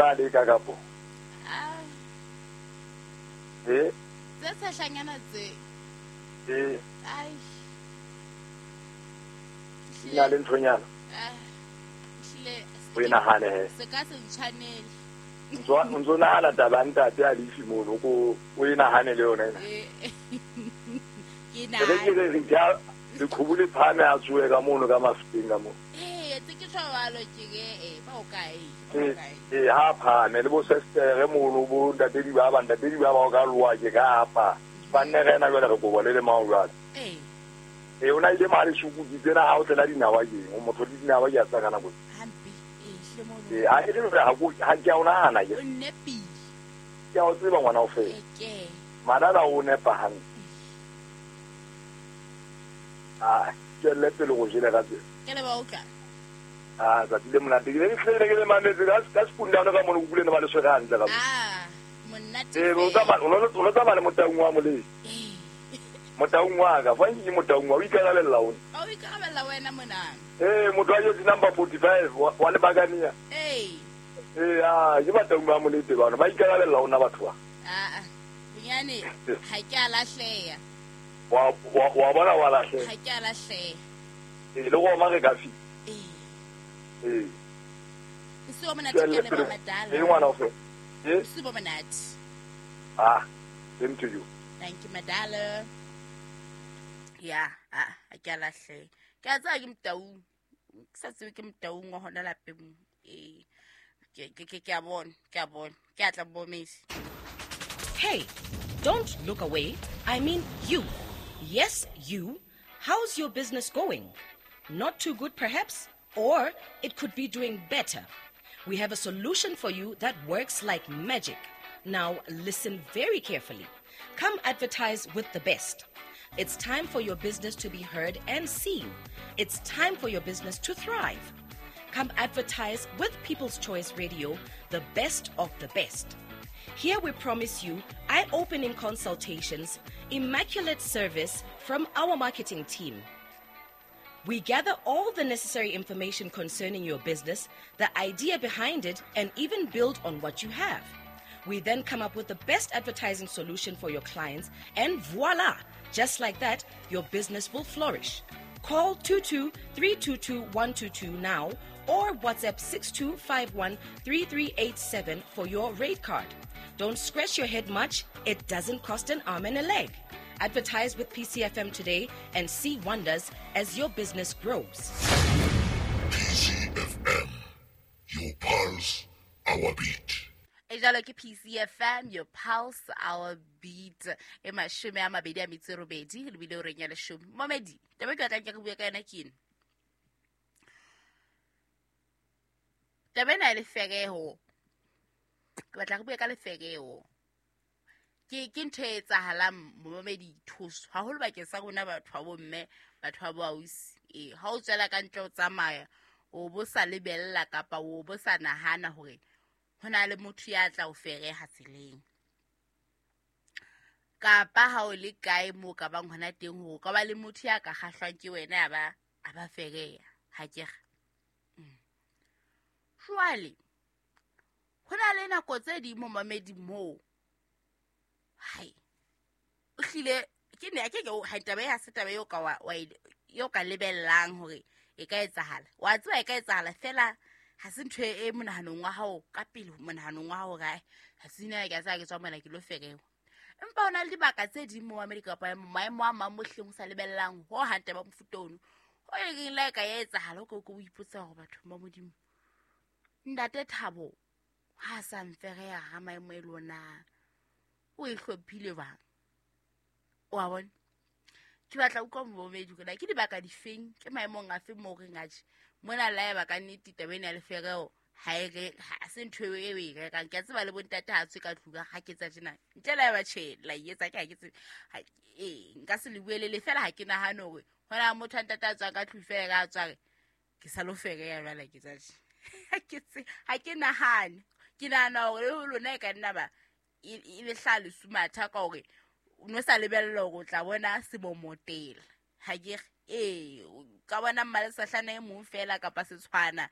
tla leka kapo? Ah. Eh? Tse tshehlanyana tse. Eh. Ai. Di na le nthonyana. Ah. Ehlile. O e nahane he. Se ka se ntshwanele. O ntso nahana taba ya ntate a lefi mono, ko o e nahane le yona ena. Eh. Ke Re ke nahane. re re ja leqhubu le phahame a tsohe ka mono ka mafuteng ka mono. Eh, tse ke tjho ke ke eh ba o kae? Ba o Eh, kae? eh, ha phahame le bo sestere mono bo ntate di ba ba ntate di ba ba o ka loa ke ka apa. Ba nne re ena jwale re kobo le le mao jwale. Eh. Eh, o na ile mane sukuti tsena ha o tlela dinawa keng, o motho le dinawa ke a tsa ka nako. Hampe. Eh, hlile mono. Eh, ha ke le hore ha ko ha ke a o nahana ke. O nepile. Ke a o tseba ngwana o fela. Eh, ke. Madala o nepa hantle. Ah, tswelle pele go jele ka tsela. Ke le ba utlwa. Ah, tsatsi le monate. Ke ne ke hlile ke le mametse ka sekundano ka mono, ke utlwile ne ba le tshwere hantle ka mo. Ah, monate. Eh, o fela. tsamaya, o lo tsamaya le motaung wa moleng. Eh. Motaung wa ka, fa nke ke motaung wa, o ikarabella ona. O ikarabella wena mona. Eh, motho wa jersey number 45 wa Lebakania. Eh. Eh, ah, ke bataung ba molete bana, ba ikarabella ona batho ba. Ah, ah. Bonyane ha ke a lahleha. Wa bona wa lahleha. Ha ke a lahleha. Eh, le go re ka fi. Eh. Eh. Bosiu bo monate ke Tswelle le pele. ba madala. Eh, ngwana o fe. Eh? Bosiu bo monate. Ah, same to you. Thank you, madala. Ya, ah, ha ke a lahleha. Ke a tseba ke motaung. Ke sa tsebe ke motaung wa hona lapeng. Eh. Ke a bona, ke a bona. Ke a tla bomesi. Hey, don't look away. I mean you. Yes, you. How's your business going? Not too good, perhaps? Or it could be doing better. We have a solution for you that works like magic. Now, listen very carefully. Come advertise with the best. It's time for your business to be heard and seen. It's time for your business to thrive. Come advertise with People's Choice Radio, the best of the best. Here we promise you eye opening consultations, immaculate service from our marketing team. We gather all the necessary information concerning your business, the idea behind it, and even build on what you have. We then come up with the best advertising solution for your clients, and voila! Just like that, your business will flourish. Call 22 322 122 now or WhatsApp 6251 3387 for your rate card. Don't scratch your head much, it doesn't cost an arm and a leg. Advertise with PCFM today and see wonders as your business grows. PCFM, your pulse, our beat. E jalo ke PCFM, your pulse, our beat. E 28 lebile o reng ya 10. Momedi, taba e ke batlang ke re bue ka yona ke ena. Taba ena ya lefereho. Ke batla re bue ka lefereho. Ke ntho e etsahalang momedi thuso haholo bakeng sa rona batho ba bomme, batho ba boausi. Eh, ha o tswela ka ntle o tsamaya, o bo sa lebella kapa o bo sa nahana hore ho na le motho ya tla o fereha tseleng. Kapa ha o le kae moo ka bang hona teng hore o ka ba le motho ya ka kgahlwang ke wena ya ba a ba fereha, ha ke re. Jwale ho na le nako tse ding mo mamedi moo. Hai. O hlile ke ne ke ke ha taba ya se taba eo ka wa wa eo ka lebellang hore e ka etsahala. Wa tseba e ka etsahala fela ha se ntho e monahanong wa hao ka pele monahanong wa hao kae. Ha se nna ke a tseba ke tswa mona ke lo ferewa. Empa hona le dibaka tse ding mo Amerika kapa maemo a mang mo hleng o sa lebellang ho hang taba mofuta ono. Ho e reng la e ka ya etsahala o ke o ipotsa hore batho ba Modimo. Ntate Thabo ha sa mfereha ha maemo e lona. O e hlophile jwang? O a bona? Ke batla utlwa momedi hore na ke dibaka difeng, ke maemong a feng moo reng atjhe. Mona la eba ka nnete taba ena ya lefereho ha e re, ha se ntho eo e o e rekang. Ke a tseba le bontate ha tswe ka tlung ha ke tsa tjena. Ntle le haeba tjhe, la e etsa ke ha ke tsebe. Ha, eh, nka se le buelele fela ha ke nahane hore hona motho a ntate a tswang ka tlung fela ka tswa re, ke sa lo fereha jwale ke tsa tje. Ha ke tsebe, ha ke nahane. Ke nahana hore le ho lona e ka nna ba e le hlaha lesumatha ka hore o no sa lebella hore o tla bona sebomotela. Ha ke re, ee, o ka bona mmalesahlana e mong fela kapa setshwana.